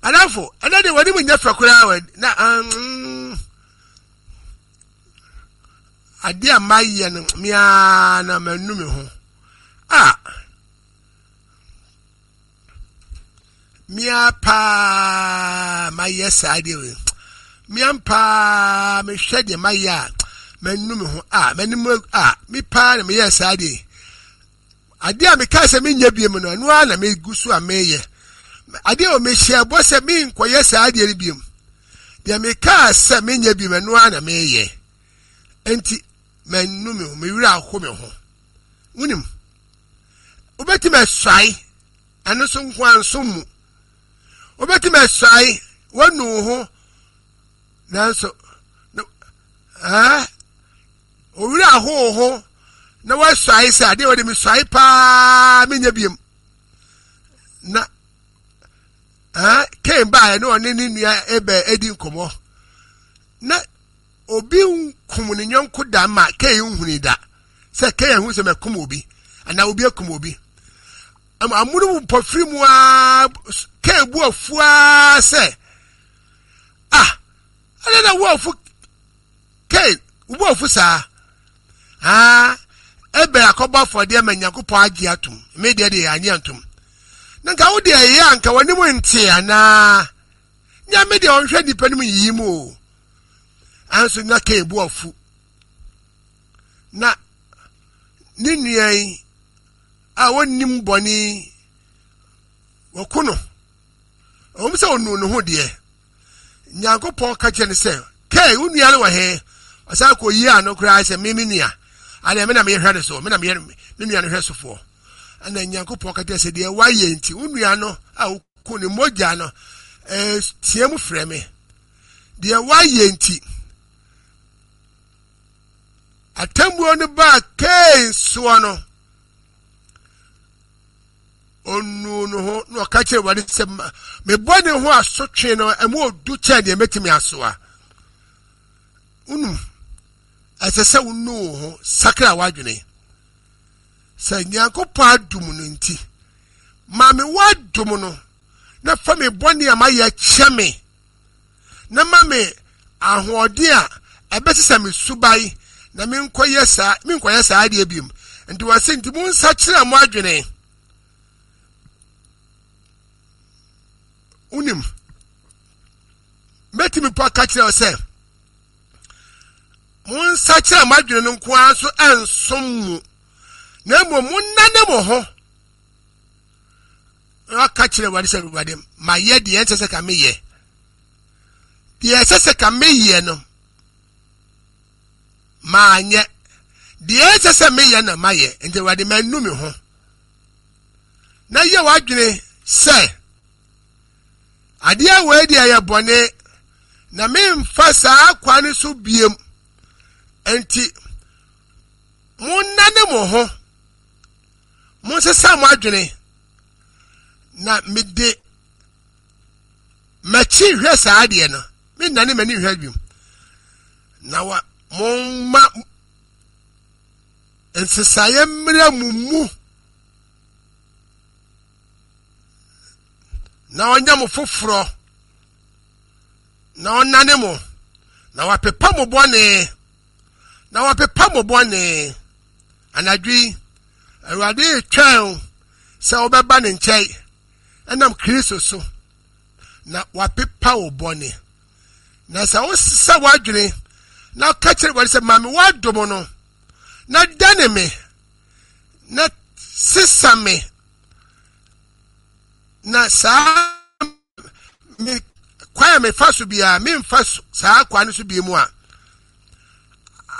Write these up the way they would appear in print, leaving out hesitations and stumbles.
Adamfo, ɛnɛ deɛ w'anim nyɛ fɛ koraa wɔ na adeɛ a mayɛ no meaa na manu me ho. Ah, mea paa mayɛ saa adeɛ wei. Mea paa mehwɛ deɛ mayɛ a manu me ho. Ah, m'anim ah, me paa na meyɛ saa adeɛ. Adeɛ a mekaa sɛ menyɛ biom no, ɛno ara na megu so a meyɛ. Adeɛ a mehyɛ bɔ sɛ menkɔyɛ saa adeɛ no biom. Deɛ mekaa sɛ menyɛ biom, ɛno ara na meyɛ. Enti, manu me ho, me werɛ aho me ho. Wonim, wobɛtumi asuae, ɛno nso nko ara nso mu. Wobɛtumi asuae, woanu wo ho, nanso, ɛɛ, Owura ahow ho na wasuae sɛ adeɛ wɔde mesuae paa menyɛ biom na eh, Kain baeɛ na ɔne ne nua Abel adi nkɔmmɔ na obi nkum ne yɔnko da ma Kain nhuni da sɛ Kain ahu sɛ makum obi anaa obi akum obi amono mu mpɔfiri mu a Kain bu afu ara sɛ ah ɛdɛ na wo afu Kain, wo bo afu saa? Aa, Abel akɔbɔ afɔdeɛ ma Nyankopɔn agye atom. Me deɛ deɛ yɛanye antom. Na nka wo deɛ ɛyɛ a nka w'anim nte anaa? Nyame deɛ ɔnhwɛ nnipa no mu yiyi mu o. Anso na Kain bo afu. Na ne nua yi a wɔnnim bɔne yi, wɔko no. Ɛwom sɛ ɔnuu ne ho deɛ, Nyankopɔn ka kyerɛ no sɛ, Kei, wo nua no wɔ he? Ɔsan kɔyii ano koraa sɛ, Me me nua. Adeɛ me na meyɛ hwɛ no so, me na meyɛ me nua no hwɛ sofoɔ. Ɛna Nyankopɔn ka kyerɛ sɛ, deɛ woayɛ nti, wo nua no a woku ne mogya no, teɛ mu frɛ me. Deɛ woayɛ nti, atemmuo no baa Kain soɔ no, ɔnuu ne ho na ɔka kyerɛ Awurade sɛ me bɔne ho asotwe no ɛmu ɔdu kyɛn deɛ mɛtumi asoa. Wonum ɛsɛ sɛ wonu wo ho sakra w'adwene sɛ Nyankopɔn adom no nti ma me w'adom no na fa me bɔne a mayɛ kyɛ me na ma me ahoɔden a ɛbɛsesa me suban na menkɔyɛ saa menkɔyɛ saa adeɛ biom nti wɔse nti monsakyera mo adwene wonim mɛtumi po aka kyerɛ wo sɛ monsakyera mo adwene no nko ara nso ɛnsom mu na mmom monnane mo ho Na ɔka kyerɛ Awurade sɛ, Awurade, mayɛ deɛ ɛnsɛ sɛ ka meyɛ. Deɛ ɛsɛ sɛ ka meyɛ no, manyɛ. Deɛ ɛnsɛ sɛ meyɛ na mayɛ. Nti Awurade, manu me ho. Na yɛ w'adwene sɛ, adeɛ wei deɛ ɛyɛ bɔne, na memfa saa kwan no so biem. Nti, monnane mo ho. Monsesa mo adwene, na mede m'akyi hwɛ saa adeɛ no, mennane m'ani nhwɛ bio. Na wa momma nsesaeɛ mmra mo mu na ɔnyɛ mo foforɔ na ɔnane mo na wapepa mo bɔne na wapepa mo bɔne Anadwo yi, Awurade retwɛn wo sɛ wobɛba ne nkyɛn ɛnam Kristo so na wapepa wo bɔne. Na sɛ wosesa w'adwene na ka kyerɛ Awurade sɛ, ma me w'adom no na dane me na sesa me na saa me kwan a mefa so biara memfa saa kwan no so bi mu a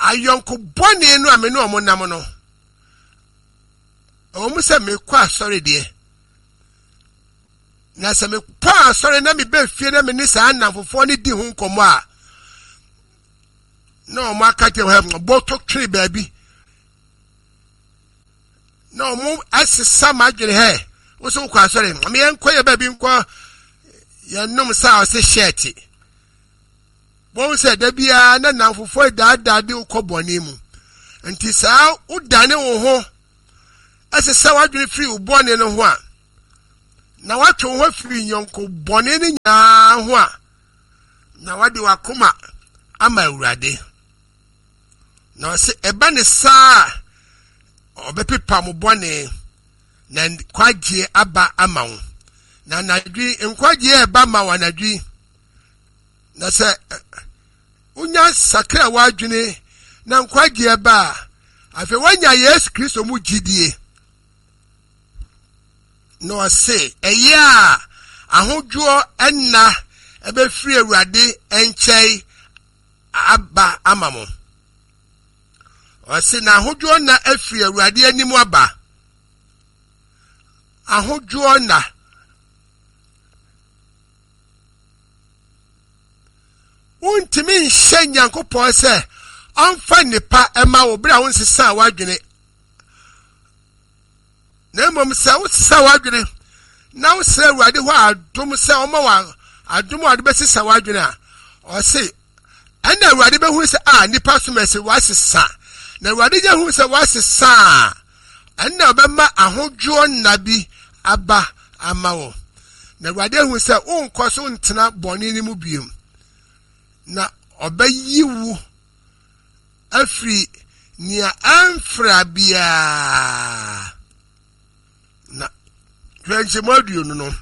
ayɔnko bɔne no a me ne wɔn nam no ɛwɔ mu sɛ mekɔ asɔre deɛ na sɛ mekɔ asɔre na mebɛ fie na me ne saa nnamfofoɔ no di ho nkɔmmɔ a na wɔn aka kyerɛ wɔn bɔtɔ twere baabi na wɔn asesa m'adwene hɛ wosɛ wokɔ asɔre meyɛ nkɔ yɛ baabi nkɔ yɛnom sa a ɔse hyɛɛte wɔn sɛ da biara na nnamfofoɔ daadaa de wokɔ bɔne mu nti saa wodane wo ho ɛsesa w'adwene firi wo bɔne no ho a na woatwe wo ho afiri nyɔnko bɔne no nyinaa ho a, na wode w'akoma ama Awurade. Na ɔse ɛba ne saa a, ɔbɛpepa mo bɔne na nkwagyeɛ aba ama wo. Na anadwo yi, nkwagyeɛ ɛba ma wo anadwo yi. Na sɛ wonya sakra w'adwene na nkwagyeɛ ba a, afei woanya Yesu Kristo mu gyidie. Na ɔse ɛyɛ a ahodwoɔ nna ɛbɛfiri Awurade nkyɛn aba ama mo. Ɔse na ahodwoɔ nna afiri Awurade anim aba. Ahodwoɔ nna. Wontumi nhyɛ Nyankopɔn sɛ ɔmfa nnepa ɛma wo bere a wonsesaa w'adwene na mmom sɛ wosesa w'adwene na wosrɛ Awurade hɔ adom sɛ ɔma wo adom a ɔde bɛsesa w'adwene a, ɔse ɛna Awurade bɛhunu sɛ a nipa som ɛsɛ wasesa na Awurade gya hunu sɛ wasesa a ɛna ɔbɛma ahodwoɔ nna bi aba ama wo na Awurade ahu sɛ wonkɔ so ntena bɔne no mu biom na ɔbɛyi wo afiri nea ɛmfra biara na hwɛ nkyɛmu aduonu no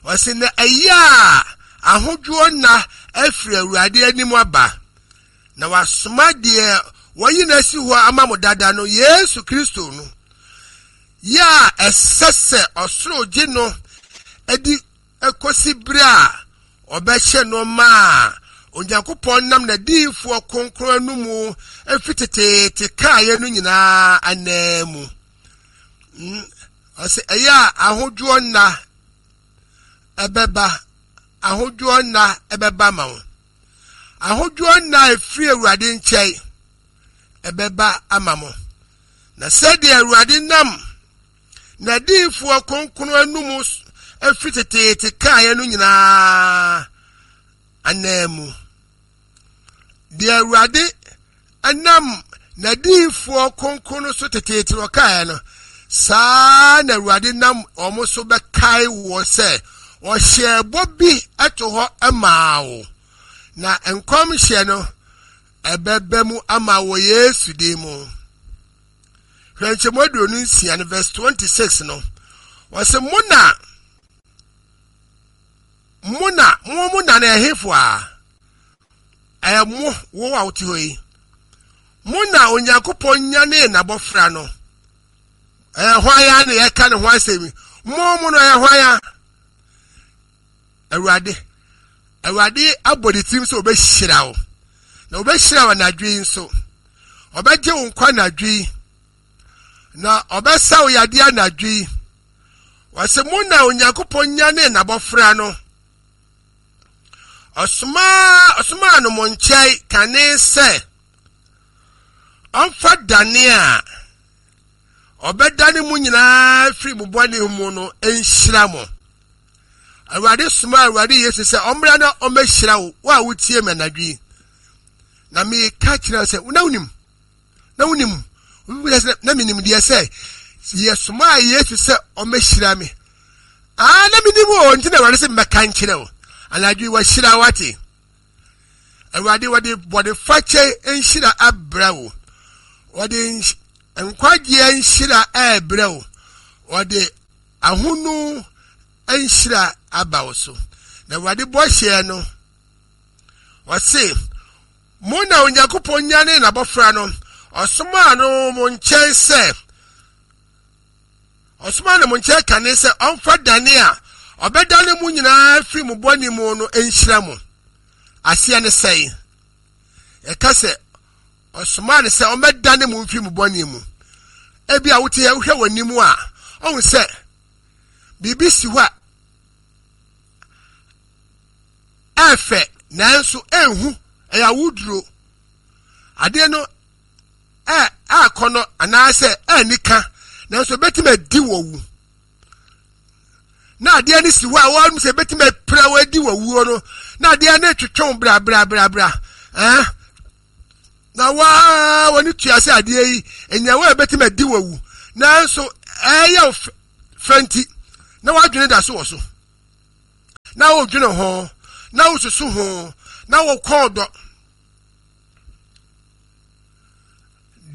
ɔsi na ɛyɛ a ahodwoɔ nna afiri awurade anim aba na wasoma deɛ wɔyi no asi hɔ ama mo dada no yesu kristo no yɛ a ɛsɛ sɛ ɔsoro gye no adi kosi bere a ɔbɛhyɛ nneɛma a Onyankopɔn nam n'adiyifoɔ kronkron anomu fi teteete kaeɛ no nyinaa ananmu. Mm, ɔsɛ ɛyɛ a ahodwoɔ nna ɛbɛba, ahodwoɔ nna ɛbɛba ma wo. Ahodwoɔ nna a ɛfiri Awurade nkyɛn ɛbɛba ama mo. Na sɛdeɛ Awurade nam N'adiyifoɔ kronkron anum firi teteete kaeɛ no nyinaa ananmu. Deɛ Awurade nam n'adiyifoɔ kronkron no so teteete na ɔkaeɛ no, saa na Awurade nam wɔn so bɛkae wɔ sɛ ɔhyɛɛ bɔ bi to hɔ maa wo. Na nkɔmhyɛ no ɛbɛba mu ama wɔ Yesu din mu. Hwɛ nkyɛmu 26 no verse 26 no. Wɔsɛ mo na mo na mo mo na na ɛhefo a ɛyɛ mo wo a wote hɔ yi mo na Onyankopɔn nyanee n'abɔfra no ɛyɛ hwan ya na yɛka ne ho asɛm yi mo mo no ɛyɛ hwan ya Awurade, Awurade abɔ ne tirim sɛ ɔbɛhyira wo, na ɔbɛhyira wo anadwo yi nso. Ɔbɛgye wo nkwa anadwo yi, na ɔbɛsa wo yadeɛ anadwo yi. Wɔsɛ mo na Onyankopɔn nyanee n'abɔfra no. Ɔsomaa ɔsomaa no mo nkyɛn kane sɛ ɔmfa dane a ɔbɛdane mo nyinaa firi mo bɔne mu no nhyira mo. Awurade somaa Awurade Yesu sɛ ɔmmra na ɔmmɛhyira wo, wo a wotie me anadwo yi. Na meka kyerɛ sɛ, na wonim, na wonim, na menim deɛ sɛ yɛsomaa Yesu sɛ ɔmmɛhyira me. Ah, na menim o, nti na Awurade sɛ mmɛka nkyerɛ wo. Anadwo yi wahyira wate. Awurade wɔde bɔnefakyɛ nhyira abrɛ wo. Wɔde nkwagyeɛ nhyira ɛrebrɛ wo. Wɔde ahonu nhyira aba wo so. Na Awurade bɔhyɛ no, ɔse, mo na Onyankopɔn nyanee n'abɔfra no, ɔsomaa no mo nkyɛn sɛ, ɔsomaa no mo nkyɛn kane sɛ ɔmfa dane a ɔbɛdane mo nyinaa firi mo bɔne mu no nhyira mo. Aseɛ ne sɛe. Ɛka sɛ Ɔsomaa no sɛ ɔmmɛdane mo mfiri mo bɔne mu. Ebi a wote yɛ wohwɛ w'anim a, ɔhu sɛ biribi si hɔ a ɛfɛ nanso ɛnhu ɛyɛ awuduro. Adeɛ no ɛ akɔnɔ anaasɛ ɛnika nanso ebetumi adi wɔ wu. Na adeɛ no si hɔ a wɔn sɛ ebetumi apira wɔ adi wɔ wuo no na adeɛ no twetwe brabrabrabra ɛn. na waa wɔn tua sɛ adeɛ yi nyawa a ɛbɛtumi adi wɔ wu nanso ɛyɛ fɛ nti Na w'adwene da so wɔ so. Na wodwene ho, na wosusu ho, na wokɔn dɔ.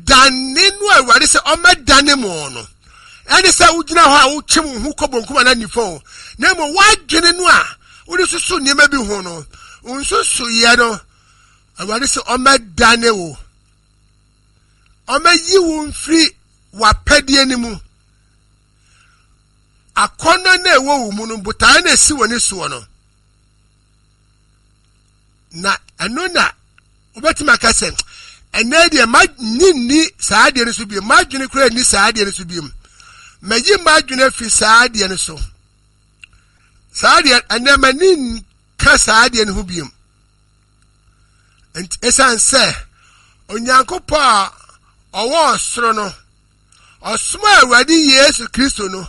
Dane no a Awurade sɛ ɔmɛdane mo no, ɛne sɛ wogyina hɔ a wotwe wo ho kɔ bonkum anaa nifa o, na mmom w'adwene no a wode susu nneɛma bi ho no, nsusuiɛ no, Awurade sɛ ɔmɛdane wo, ɔmɛyi wo mfiri w'apɛdeɛ no mu. Akɔnnɔ no a ɛwɔ wo mu no, botaeɛ no a ɛsi w'ani soɔ no, na ɛno na wobɛtumi aka sɛ ɛnɛ deɛ manyi nni saa adeɛ no so bio m'adwene koraa nni saa adeɛ no so bio mayi m'adwene afi saa adeɛ no so saa adeɛ ɛnɛ m'ani nka saa adeɛ no ho bio nti ɛsiane sɛ onyankopɔn a ɔwɔ ɔsoro no ɔsomaa Awurade Yesu Kristo no,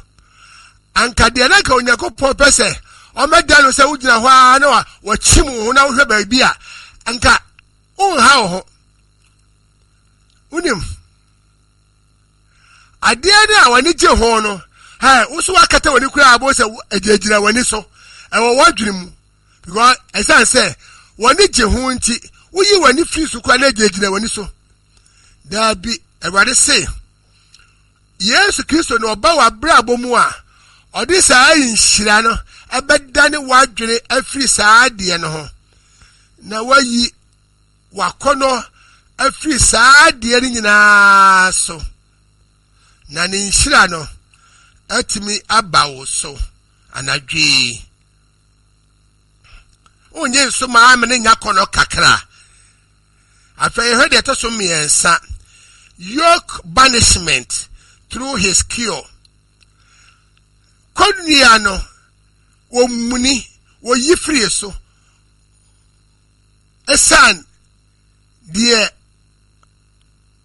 anka deɛ na anka Onyankopɔn pɛ sɛ ɔmɛda no sɛ wogyina hɔ ara na wakyim wo ho na wohwɛ baabi a, anka wonha wo ho. Wonim, adeɛ no a w'ani gye ho no, hɛ, wo so wakata w'ani koraa abo sɛ ɛgyinagyina w'ani so, ɛwɔ w'adwene mu. Because ɛsiane sɛ w'ani gye ho nti, woyi w'ani firi so koraa na ɛgyinagyina w'ani so. Daabi, Awurade se, Yesu Kristo na ɔba w'abrabɔ mu a, ɔde saa nhyira no ɛbɛdane w'adwene afiri saa adeɛ no ho, na wayi w'akɔnnɔ afiri saa adeɛ no nyinaa so, na ne nhyira no atumi aba wo so anadwo yi. Wonnye nso maa me ne nya kɔnnɔ kakra. Afei yɛhwɛ deɛ ɛtɔ so mmiɛnsa, yoke banishment through his cure. Kɔnnua no, wɔmuni, wɔyi firi so. Ɛsan deɛ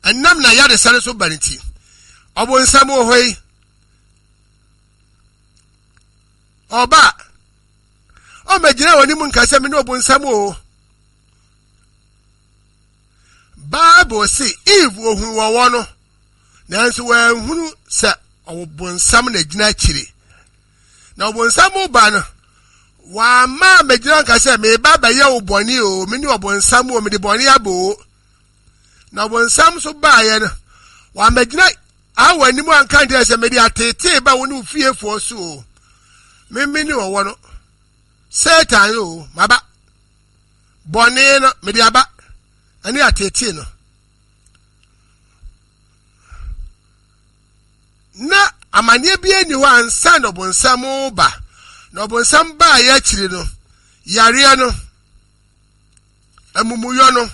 ɛnam na yaresa no so ba no ti. Ɔbonsam wɔ hɔ yi, ɔba ɔmmɛgyina wɔn anim nka sɛ me ne ɔbonsam o. Bible se Eve ohunu wɔwɔ no, nanso wanhunu sɛ ɔbonsam na gyina akyire. Na ɔbonsam ba no, wamma ammɛgyina nka sɛ meba bɛyɛ wo bɔne o, me ne ɔbonsam o, mede bɔne aba o. Na ɔbonsam nso baeɛ no, wammɛgyina Hawa anim anka nkyerɛ sɛ mede ateetee ba wo ne wo fiefoɔ so o, me me ne ɔwɔ no. Satan o, maba. Bɔne no, mede aba, ɛne ateetee no. Na amanneɛ bi ani hɔ ansa na ɔbonsam ba. Na ɔbonsam baeɛ akyiri no, yareɛ no, amumuyɔ no.